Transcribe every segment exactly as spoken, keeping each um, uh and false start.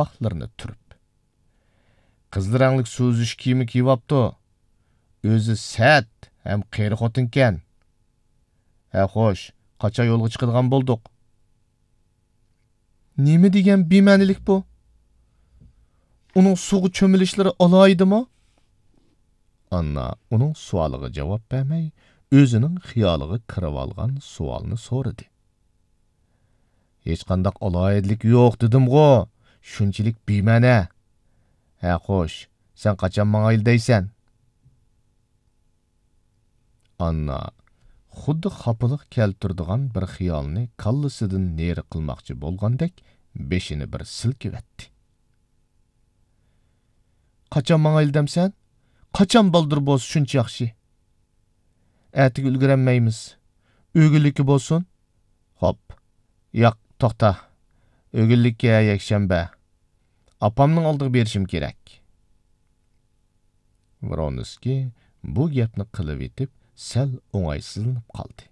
قاپاقلىرىنى تۈرۈپ. قىزىل رەڭلىك سۇ ئۈزۈش كىيىمى كىيىۋاپتۇ. ئۆزى سەت ھەم قېرى خوتۇنكەن. ھە، خوش، قاچان يولغا چىقىدىغان بولدۇق؟ نېمە دېگەن بىمەنىلىك بۇ؟ ئۇنىڭ سۇغا چۆمۈلۈشلىرى ئالاھىدىمۇ؟ ئاننا ئۇنىڭ سوئالىغا جاۋاب بەرمەي، ئۆزىنىڭ خىيالىغا كىرىۋالغان سوئالنى سورىدى. ھېچقانداق ئالاھىدىلىكى يوق دېدىمغۇ، شۇنچىلىك بىمەنە. ھە، خوش، سەن قاچان ماڭايلى دەيسەن؟ ئاننا خۇددى خاپىلىق كەلتۈرىدىغان بىر خىيالنى كاللىسىدىن نېرى قىلماقچى بولغاندەك بېشىنى بىر سىلكىۋەتتى. قاچان ماڭايلى دەمسەن؟ قاچان بالدۇر بولسا شۇنچە ياخشى. ئەتىگە ئۈلگۈرەلمەيمىز. ئۆگۈنلۈككە بولسۇن. خوپ. ياق، توختا. ئۆگۈنلۈككە يەكشەنبە. ئاپامنىڭ ئالدىغا بېرىشىم كېرەك. ۋرونسكىي بۇ گەپنى قىلىۋېتىپ، سەل ئوڭايسىزلىنىپ قالدى.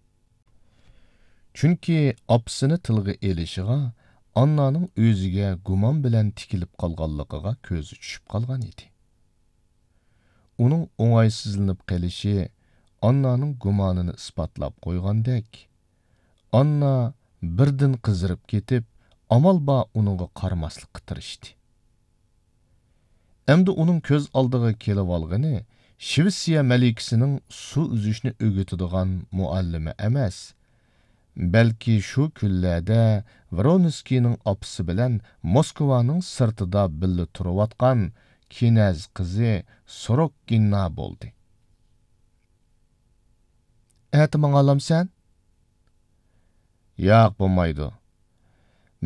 چۈنكى ئاپىسىنى تىلغا ئېلىشىغا ئاننانىڭ ئۆزىگە گۇمان بىلەن تىكىلىپ قالغانلىقىغا كۆزى چۈشۈپ قالغان ئىدى. ئۇنىڭ ئوڭايسىزلىنىپ قېلىشى ئاننانىڭ گۇمانىنى ئىسپاتلاپ قويغاندەك، ئاننا بىردىن قىزىرىپ كېتىپ، ئامال بار ئۇنىڭغا قارىماسلىققا تىرىشتى. ئەمدى ئۇنىڭ كۆز ئالدىغا كېلىۋالغىنى شىۋېتسىيە مەلىكىسىنىڭ سۇ ئۈزۈشنى ئۆگىتىدىغان مۇئەللىمى ئەمەس، بەلكى شۇ كۈنلەردە ۋرونسكىينىڭ ئاپىسى بىلەن موسكۋانىڭ سىرتىدا بىللە تۇرۇۋاتقان كىنەز قىزى سوروككىنا بولدى. ئەتە ماڭالامسەن؟ ياق، بولمايدۇ.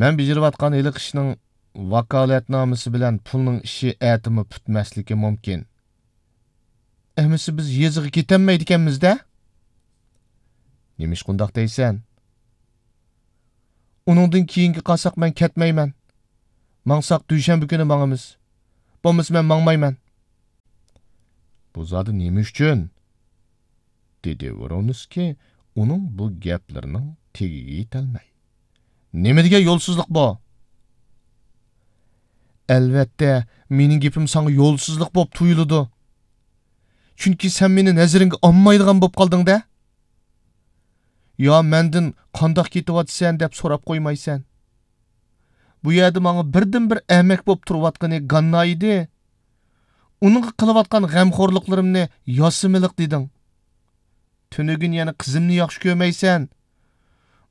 مەن بېجىرىۋاتقان ھېلىقى ئىشنىڭ ۋاكالەتنامىسى بىلەن پۇلنىڭ ئىشى ئەتىمۇ پۈتمەسلىكى مۇمكىن. ئەمىسە بىز يېزىغا كېتەلمەيدىكەنمىز-دە؟ نېمىشقا ئۇنداق دەيسەن؟ ئۇنىڭدىن كېيىنگە قالساق مەن كەتمەيمەن. ماڭساق دۈشەنبە كۈنى ماڭىمىز. بولمىسا مەن ماڭمايمەن. بۇ زادى نېمە ئۈچۈن؟ دېدى ۋرونسكىي ئۇنىڭ بۇ گەپلىرىنىڭ تېگىگە يېتەلمەي. نېمە دېگەن يولسىزلىق بۇ؟ ئەلۋەتتە، مېنىڭ گېپىم ساڭا يولسىزلىق بولۇپ تۇيۇلىدۇ. چۈنكى سەن مېنى نەزىرىڭگە ئالمايدىغان بولۇپ قالدىڭ-دە. يا مەندىن قانداق كېتىۋاتىسەن دەپ سوراپ قويمايسەن. بۇ يەردە ماڭا بىردىنبىر ئەمەك بولۇپ تۇرۇۋاتقىنى گاننا ئىدى. ئۇنىڭغا قىلىۋاتقان غەمخورلۇقلىرىمنى ياسىمىلىق دېدىڭ. تۈنۈگۈن يەنە قىزىمنى ياخشى كۆرمەيسەن.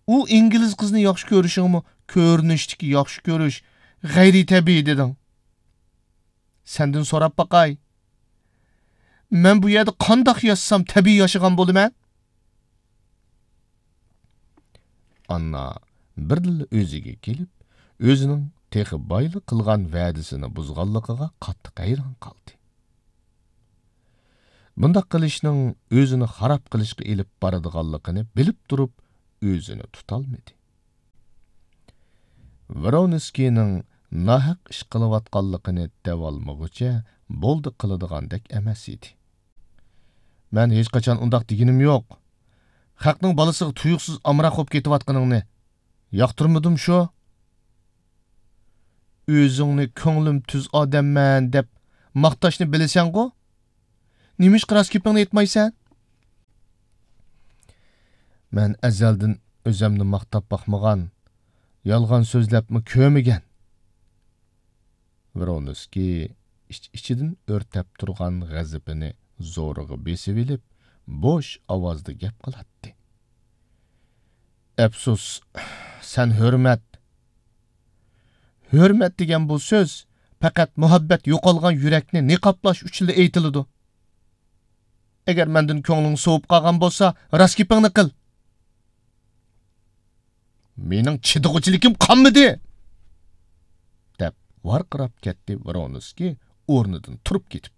ئۇ ئىنگلىز قىزنى ياخشى كۆرۈشۈڭمۇ كۆرۈنۈشتىكى ياخشى كۆرۈش، غەيرىي تەبىئىي دېدىڭ. سەندىن سوراپ باقاي. مەن بۇ يەردە قانداق ياشىسام تەبىئىي ياشىغان بولىمەن؟ ئاننا بىردىنلا ئۆزىگە كېلىپ، ئۆزىنىڭ تېخى بايلا قىلغان ۋەدىسىنى بۇزغانلىقىغا قاتتىق ھەيران قالدى. بۇنداق قىلىشنىڭ ئۆزىنى خاراب قىلىشقا ئېلىپ بارىدىغانلىقىنى بىلىپ تۇرۇپ، ئۆزىنى تۇتالمىدى. ۋرونسكىينىڭ ناھەق ئىش قىلىۋاتقانلىقىنى دەۋالمىغۇچە بولدى قىلىدىغاندەك ئەمەس ئىدى. مەن ھېچقاچان ئۇنداق دېگىنىم يوق. خەقنىڭ بالىسىغا تۇيۇقسىز ئامراق بولۇپ كېتىۋاتقىنىڭنى ياقتۇرمىدىم شۇ. ئۆزۈڭنى كۆڭلۈم تۈز ئادەممەن دەپ ماختاشنى بىلىسەنغۇ؟ نېمىشقا راست گېپىڭنى ئېيتمايسەن؟ مەن ئەزەلدىن ئۆزۈمنى ماختاپ باقمىغان، يالغان سۆزلەپمۇ كۆرمىگەن. ۋرونسكىي ئىچ-ئىچىدىن ئۆرتەپ تۇرغان غەزىپىنى زورىغا بېسىۋېلىپ، بوش ئاۋازدا گەپ قىلاتتى. ئەپسۇس، سەن ھۆرمەت. ھۆرمەت دېگەن بۇ سۆز پەقەت مۇھەببەت يوقالغان يۈرەكنى نىقابلاش ئۈچۈنلا ئېيتىلىدۇ. ئەگەر مەندىن كۆڭلۈڭ سوۋۇپ قالغان بولسا، راست گېپىڭنى قىل. مېنىڭ چىدىغۇچىلىكىم قالمىدى! دەپ ۋارقىراپ كەتتى ۋرونسكىي ئورنىدىن تۇرۇپ كېتىپ.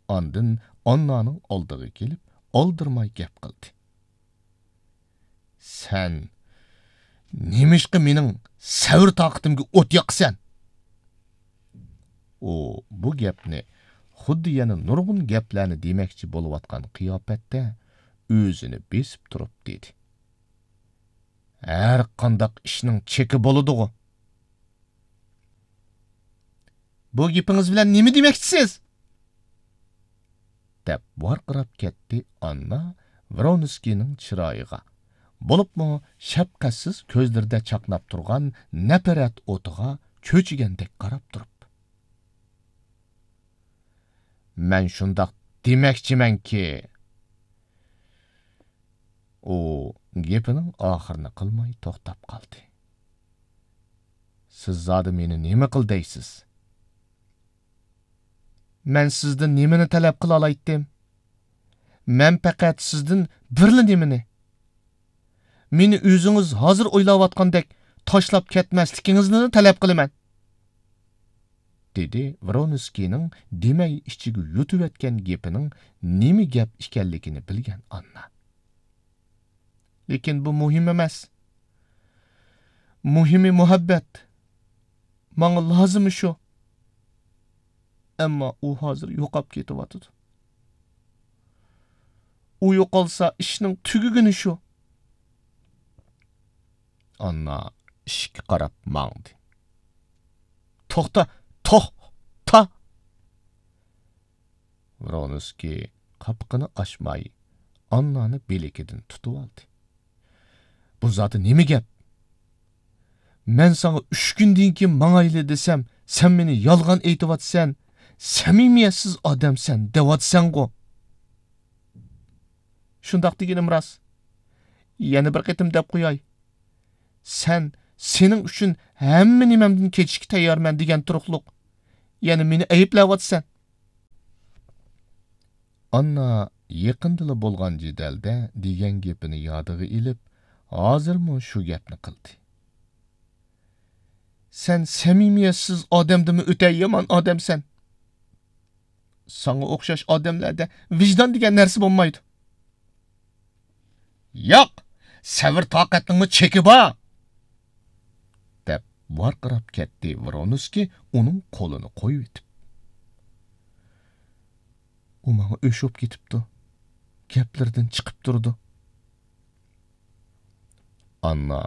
ئاندىن ئاننانىڭ ئالدىغا كېلىپ، ئالدىرىماي گەپ قىلدى. سەن نېمىشقا مېنىڭ سەۋر تاقىتىمگە ئوت ياقىسەن؟ ئۇ بۇ گەپنى خۇددى يەنە نۇرغۇن گەپلەرنى دېمەكچى بولۇۋاتقان قىياپەتتە ئۆزىنى بېسىپ تۇرۇپ دېدى. ھەر قانداق ئىشنىڭ چېكى بولىدىغۇ. بۇ گېپىڭىز بىلەن نېمە دېمەكچىسىز؟ دەپ ۋارقىراپ كەتتى ئاننا ۋرونسكىينىڭ چىرايىغا، بولۇپمۇ شەپقەتسىز كۆزلىرىدە چاقناپ تۇرغان نەپرەت ئوتىغا چۆچۈگەندەك قاراپ تۇرۇپ. مەن شۇنداق دېمەكچىمەنكى. ئۇ گېپىنىڭ ئاخىرىنى قىلماي توختاپ قالدى. سىز زادى مېنى نېمە قىل دەيسىز؟ مەن سىزدىن نېمىنى تەلەپ قىلالايتتىم؟ مەن پەقەت سىزدىن بىرلا نېمىنى، مېنى ئۆزىڭىز ھازىر ئويلاۋاتقاندەك تاشلاپ كەتمەسلىكىڭىزنىلا تەلەپ قىلىمەن، دېدى ۋرونسكىينىڭ دېمەي ئىچىگە يۇتۇۋەتكەن گېپىنىڭ نېمە گەپ ئىكەنلىكىنى بىلگەن ئاننا. لېكىن بۇ مۇھىم ئەمەس. مۇھىمى مۇھەببەت. ماڭا لازىمى شۇ. ئەمما ئۇ ھازىر يوقاپ كېتىۋاتىدۇ. ئۇ يوقالسا، ئىشنىڭ تۈگىگىنى شۇ. ئاننا ئىشىككە قاراپ ماڭدى. توختا، توختا! ۋرونسكىي قاپىقىنى ئاچماي، ئاننانى بىلىكىدىن تۇتۇۋالدى. بۇ زادى نېمە گەپ؟ مەن ساڭا ئۈچ كۈندىن كېيىن ماڭايلى دېسەم، سەن مېنى يالغان ئېيتىۋاتىسەن، سەمىمىيەتسىز ئادەمسەن دەۋاتىسەنغۇ؟ شۇنداق دېگىنىم راست. يەنە بىر قېتىم دەپ قوياي. سەن سېنىڭ ئۈچۈن ھەممە نېمەمدىن كېچىشكە تەييارمەن دېگەن تۇرۇقلۇق. يەنە مېنى ئەيىبلەۋاتىسەن. ئاننا يېقىندىلا بولغان جېدەلدە دېگەن گېپىنى يادىغا ئېلىپ، ھازىرمۇ شۇ گەپنى قىلدى. سەن سەمىمىيەتسىز ئادەمدىنمۇ ئۆتە يامان ئادەمسەن. ساڭا ئوخشاش ئادەملەردە ۋىجدان دېگەن نەرسە بولمايدۇ. ياق، سەۋر-تاقەتنىڭمۇ چېكى بار! دەپ ۋارقىراپ كەتتى ۋرونسكىي ئۇنىڭ قولىنى قويۇۋېتىپ. ئۇ ماڭا ئۆچ بولۇپ كېتىپتۇ. گەپلىرىدىن چىقىپ تۇرىدۇ. ئاننا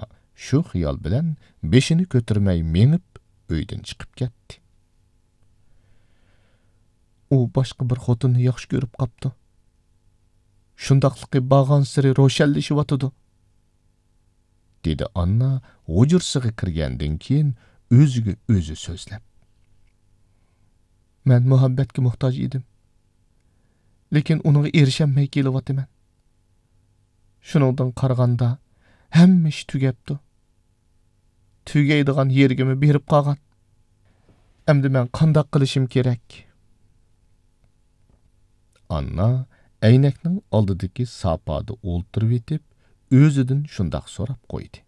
شۇ خىيال بىلەن بېشىنى كۆتۈرمەي مېڭىپ، ئۆيدىن چىقىپ كەتتى. ئۇ باشقا بىر خوتۇننى ياخشى كۆرۈپ قاپتۇ. شۇنداقلىقى بارغانسېرى روشەنلىشىۋاتىدۇ، دېدى ئاننا ھۇجرىسىغا كىرگەندىن كېيىن ئۆزىگە ئۆزى سۆزلەپ. مەن مۇھەببەتكە موھتاج ئىدىم. لېكىن ئۇنىڭغا ئېرىشەلمەي كېلىۋاتىمەن. شۇنىڭدىن قارىغاندا، ھەممە ئىش تۈگەپتۇ. تۈگەيدىغان يېرىگىمۇ بېرىپ قالغان. ئەمدى مەن قانداق قىلىشىم كېرەك؟ ئاننا ئەينەكنىڭ ئالدىدىكى ساپادا ئولتۇرۇۋېتىپ، ئۆزىدىن شۇنداق سوراپ قويدى.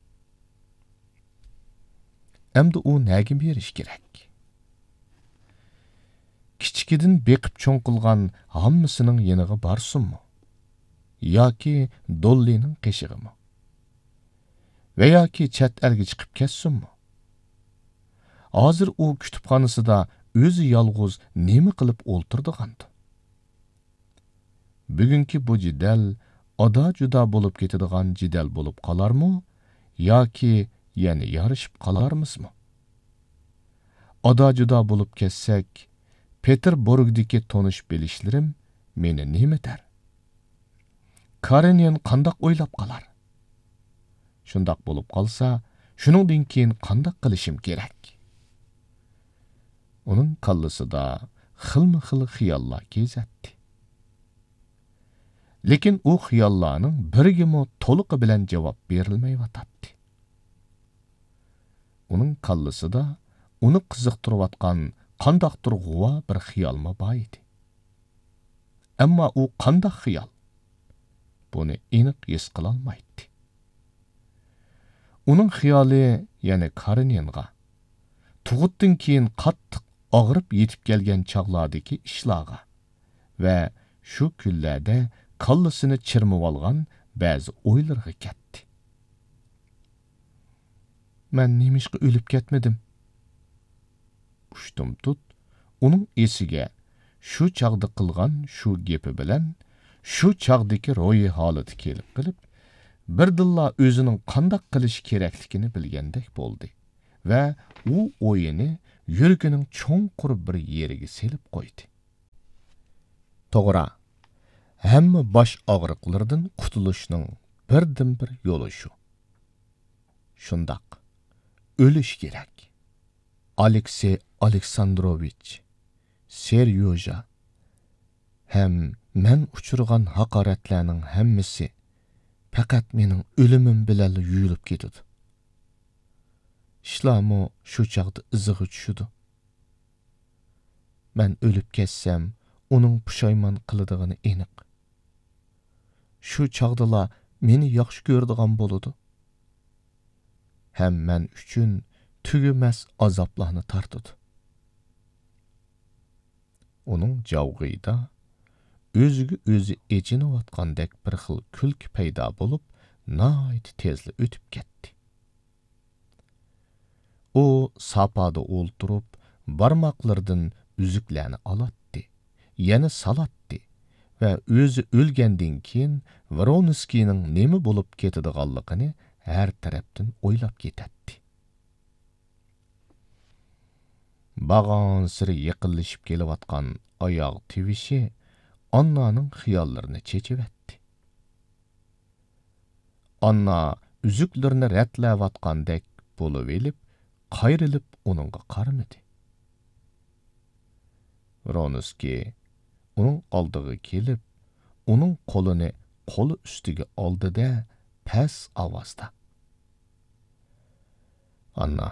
ئەمدى ئۇ نەگە بېرىش كېرەك؟ كىچىكىدىن بېقىپ چوڭ قىلغان ھاممىسىنىڭ يېنىغا بارسۇنمۇ؟ ياكى دوللىنىڭ قېشىغىمۇ؟ ۋە ياكى چەت ئەلگە چىقىپ كەتسۇنمۇ؟ ھازىر ئۇ كۇتۇپخانىسىدا ئۆزى يالغۇز نېمە قىلىپ ئولتۇرىدىغاندۇ؟ بۈگۈنكى بۇ جېدەل ئادا-جۇدا بولۇپ كېتىدىغان جېدەل بولۇپ قالارمۇ ياكى يەنە يارىشىپ قالارمىزمۇ؟ ئادا-جۇدا بولۇپ كەتسەك، پېتېربۇرگدىكى تونۇش-بىلىشلىرىم مېنى نېمە دەر؟ كارېنىن قانداق ئويلاپ قالار؟ شۇنداق بولۇپ قالسا، شۇنىڭدىن كېيىن قانداق قىلىشىم كېرەك؟ ئۇنىڭ كاللىسىدا خىلمۇ خىل خىياللار كېزەتتى. لېكىن ئۇ خىياللارنىڭ بىرىگىمۇ تولۇقى بىلەن جاۋاب بېرىلمەيۋاتاتتى. ئۇنىڭ كاللىسىدا ئۇنى قىزىقتۇرۇۋاتقان قانداقتۇر غۇۋا بىر خىيالمۇ بار ئىدى. ئەمما ئۇ قانداق خىيال؟ بۇنى ئېنىق ھېس قىلالمايتتى. ئۇنىڭ خىيالى يەنە كارېنىنغا، تۇغۇتتىن كېيىن قاتتىق ئاغرىپ يېتىپ كەلگەن چاغلاردىكى ئىشلارغا ۋە شۇ كۈنلەردە كاللىسىنى چىرمىۋالغان بەزى ئويلىرىغا كەتتى. مەن نېمىشقا ئۆلۈپ كەتمىدىم؟ ئۇشتۇمتۇت ئۇنىڭ ئېسىگە شۇ چاغدا قىلغان شۇ گېپى بىلەن شۇ چاغدىكى روھىي ھالىتى كېلىپ قېلىپ، بىردىنلا ئۆزىنىڭ قانداق قىلىشى كېرەكلىكىنى بىلگەندەك بولدى. ۋە ئۇ ئويىنى يۈرىكىنىڭ چوڭقۇر بىر يېرىگە سېلىپ قويدى. توغرا، ھەممە باش ئاغرىقلىرىدىن قۇتۇلۇشنىڭ بىردىنبىر يولى شۇ. شۇنداق، ئۆلۈش كېرەك. ئالېكسېي ئالېكساندروۋىچ، سېريوژا ھەم مەن ئۇچرىغان ھاقارەتلەرنىڭ ھەممىسى پەقەت مېنىڭ ئۆلۈمۈم بىلەنلا يۇيۇلۇپ كېتىدۇ. ئىشلارمۇ شۇ چاغدا ئىزىغا چۈشىدۇ. مەن ئۆلۈپ كەتسەم، ئۇنىڭ پۇشايمان قىلىدىغىنى ئېنىق. شۇ چاغدىلا مېنى ياخشى كۆرىدىغان بولىدۇ. ھەم مەن ئۈچۈن تۈگىمەس ئازابلارنى تارتىدۇ. ئۇنىڭ جاۋغىيىدا ئۆزىگە ئۆزى ئېچىنىۋاتقاندەك بىر خىل كۈلكە پەيدا بولۇپ، ناھايىتى تېزلا ئۆتۈپ كەتتى. ئۇ ساپادا ئولتۇرۇپ، بارماقلىرىدىن ئۈزۈكلەرنى ئالاتتى، يەنە سالاتتى ۋە ئۆزى ئۆلگەندىن كېيىن ۋرونسكىينىڭ نېمە بولۇپ كېتىدىغانلىقىنى ھەر تەرەپتىن ئويلاپ كېتەتتى. بارغانسېرى يېقىنلىشىپ كېلىۋاتقان ئاياغ تىۋىشى ئاننانىڭ خىياللىرىنى چېچىۋەتتى. ئاننا ئۈزۈكلىرىنى رەتلەۋاتقاندەك بولۇۋېلىپ، قايرىلىپ ئۇنىڭغا قارىمىدى. ۋرونسكىي ئۇنىڭ ئالدىغا كېلىپ، ئۇنىڭ قولىنى قولى ئۈستىگە ئالدى-دە، پەس ئاۋازدا: «ئاننا،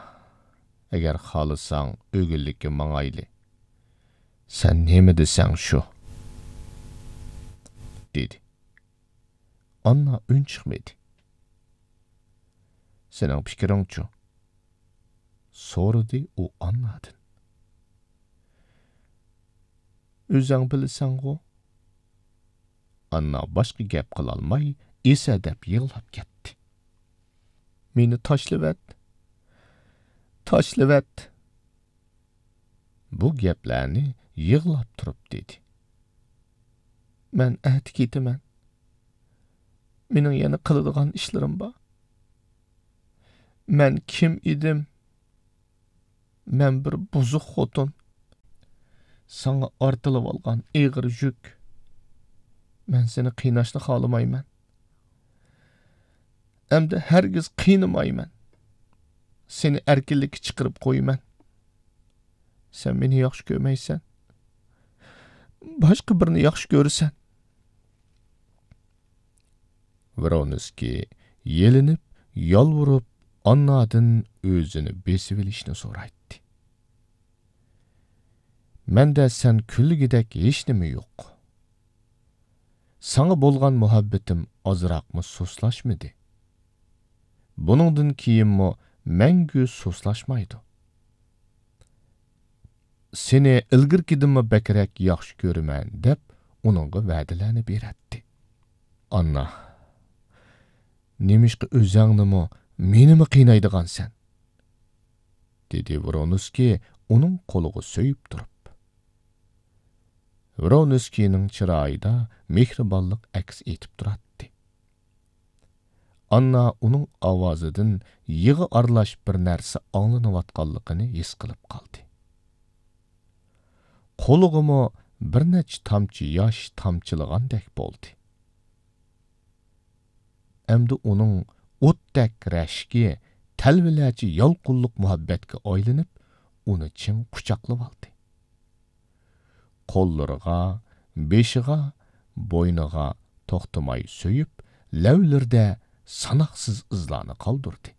ئەگەر خالىساڭ، ئۆگۈنلۈككە ماڭايلى. سەن نېمە دېسەڭ شۇ»، دېدى. ئاننا ئۈن چىقمىدى. «سېنىڭ پىكرىڭچۇ؟» سورىدى ئۇ ئاننادىن. «ئۆزەڭ بىلىسەڭغۇ؟» ئاننا باشقا گەپ قىلالماي، ئېسەدەپ يىغلاپ كەتتى. «مېنى تاشلىۋەت! تاشلىۋەت!» بۇ گەپلەرنى يىغلاپ تۇرۇپ دېدى. «مەن ئەتە كېتىمەن. مېنىڭ يەنە قىلىدىغان ئىشلىرىم بار. مەن كىم ئىدىم؟ مەن بىر بۇزۇق خوتۇن. ساڭا ئارتىلىۋالغان ئېغىر يۈك. مەن سېنى قىيناشنى خالىمايمەن. ئەمدى ھەرگىز قىينىمايمەن. سېنى ئەركىنلىككە چىقىرىپ قويىمەن. سەن مېنى ياخشى كۆرمەيسەن. باشقا بىرنى ياخشى كۆرىسەن.» ۋرونسكىي يېلىنىپ، يالۋۇرۇپ، ئاننادىن ئۆزىنى بېسىۋېلىشنى سورايتتى. «مەندە سەن كۈنلىگۈدەك ھېچنېمە يوق. ساڭا بولغان مۇھەببىتىم ئازراقمۇ سۇسلاشمىدى. بۇنىڭدىن كېيىنمۇ مەڭگۈ سۇسلاشمايدۇ. سېنى ئىلگىرىكىدىنمۇ بەكرەك ياخشى كۆرىمەن» دەپ، ئۇنىڭغا ۋەدىلەرنى بېرەتتى. «ئاننا، نېمىشقا ئۆزەڭنىمۇ، مېنىمۇ قىينايدىغانسەن؟» دېدى ۋرونسكىي ئۇنىڭ قولىغا سۆيۈپ تۇرۇپ. ۋرونسكىينىڭ چىرايىدا مېھرىبانلىق ئەكس ئېتىپ تۇراتتى. ئاننا ئۇنىڭ ئاۋازىدىن يىغا ئارىلاش بىر نەرسە ئاڭلىنىۋاتقانلىقىنى ھېس قىلىپ قالدى. قولىغىمۇ بىر نەچچە تامچە ياش تامچىلىغاندەك بولدى. ئەمدى ئۇنىڭ ئوتتەك رەشكى تەلۋىلەرچە يالقۇنلۇق مۇھەببەتكە ئايلىنىپ، ئۇنى چىڭ قۇچاقلىۋالدى. قوللىرىغا، بېشىغا، بوينىغا توختىماي سۆيۈپ، لەۋلىرىدە ساناقسىز ئىزلارنى قالدۇردى.